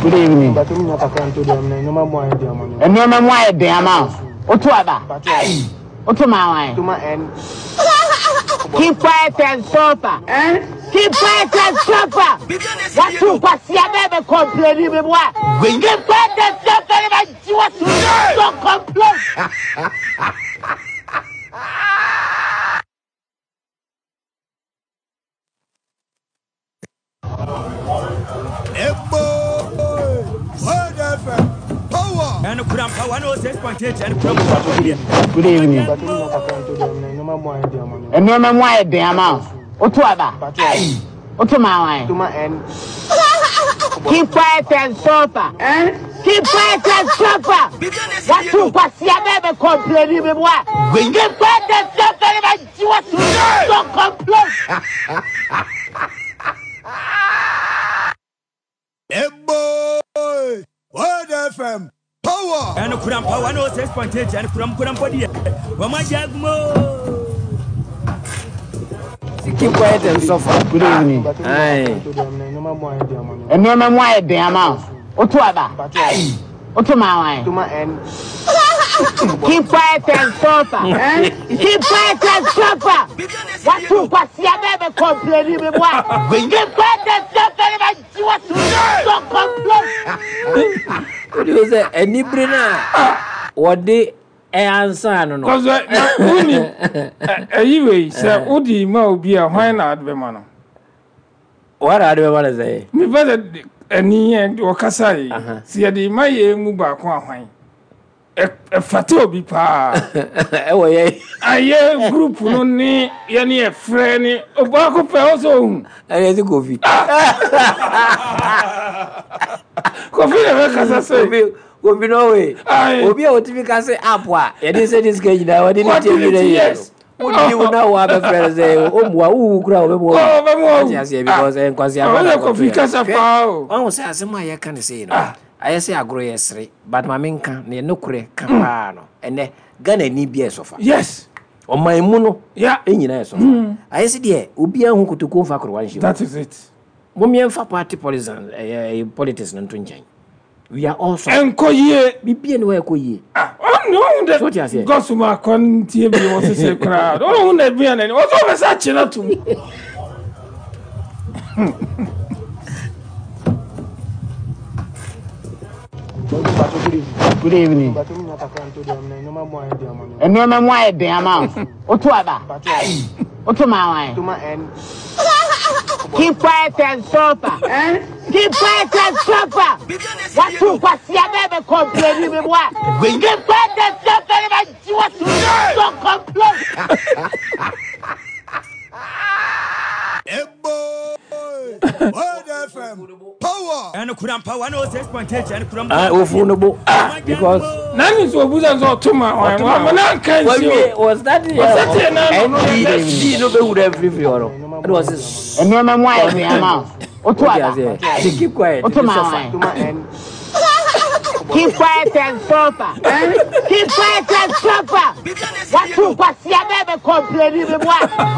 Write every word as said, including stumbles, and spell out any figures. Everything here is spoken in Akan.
Good evening. Nneɛma mu ayɛ den ama wo. Woto aba. Woto ma wan. Keep quiet and suffer. Keep quiet and suffer. Watu kwasia bɛɛ bɛ complain bi mu a. Keep quiet and suffer ne ba gyi wato. Don't complain. Good evening. Nneɛma mu ayɛ den ama wo. Woto aba. Woto ma wan. Keep quiet and suffer. Keep quiet and suffer. Watu kwasia bɛɛ bɛ complain bi mu a. Keep quiet and suffer ne ba gyi wato. Don't complain. Eboy! Word F M Power! And Kurampa one oh six point eight and Kuram Kurampa. Keep quiet and suffer. Good evening. Aye. Nneɛma mu ayɛ den ama wo. Woto aba. Woto ma wan. Keep quiet and suffer. Keep quiet and suffer. Watu kwasia bɛɛ bɛ complain bi mu a. Keep quiet and suffer ne ba gyi wato. Don't complain. What do you say? Anibere na wɔde ɛansa no no. Cause woni ɛyi wei sɛ wodi ma obi a hwan na ade bɛma no. Wɔn na ade bɛma no sɛ. Nipa sɛ ɛni yɛn ɔkasa yi sɛ yɛde ma yɛn mu baako a hwan ɛfata obi paa. Ɛwɔ yɛ. Ayɛ group no ne yɛne yɛfrɛ ne obaako pɛ ɔsɛ ohun. Ɛyɛ ti Kofi. Kofi na bɛ kasa sɛ. Kofi Kofi no way. Obi a otimi ka sɛ app a yɛde sɛ ne sika nyinaa wɔde ne tie bi na yɛ. Wodi wo na wo abɛfrɛ no sɛ ɔmmoa wowu kora wɔbɛmoa wo. Ɔte aseɛ because nkwasi aba na Ɔyɛ Kofi kasa paa o. Ɔhu sɛ asɛm a yɛka ne sei no ayɛ sɛ agorɔ yɛ sere but ma menka ne nokorɛ ka paa no ɛnɛ Ghana ni bi a ɛsɔfa. Yes. Ɔman mu no Yeah. ɛnyinaa ɛsɔfa. Ayɛ sɛ deɛ obiara hu kotokuo mfa korowa nhyɛ mu. That is it. Momiɛmfa party politics ɛyɛ politics no nto nkyɛn. We are all suffering. Ɛnkɔ yie. Bibia ne wɔyɛ kɔ yie. Ah, ɔno ɔhu dɛ So what you say? Gɔsuma akɔntie bi wɔ sese koraa. Ɔhu dɛ bia n'ani. Ɔsɛ ɔbɛ sɛ akyi na tum. Good evening. Nneɛma mu ayɛ den ama wo. Woto aba. Woto ma wan. Keep quiet and suffer. Keep quiet and suffer. Watu kwasia bɛɛ bɛ complain bi mu a. Keep quiet and suffer ne ba gyi wato. Don't complain. Eboy! Word F M Power! And Kurampa one oh six point eight and Kurampa. Ah, ofu no bo because Nani nso obusa nso ɔto ma wan. Wɔn mo na nka nsi o. was that Ɔsɛte na no no N D no bɛ wura firifiri hɔ no. Ɛna wɔsi Nneɛma mu ayɛ den ama wo. Woto aba. Keep quiet. Woto ma wan. Keep quiet and suffer. Keep quiet and suffer. Watu kwasia bɛɛ bɛ complain bi mu a.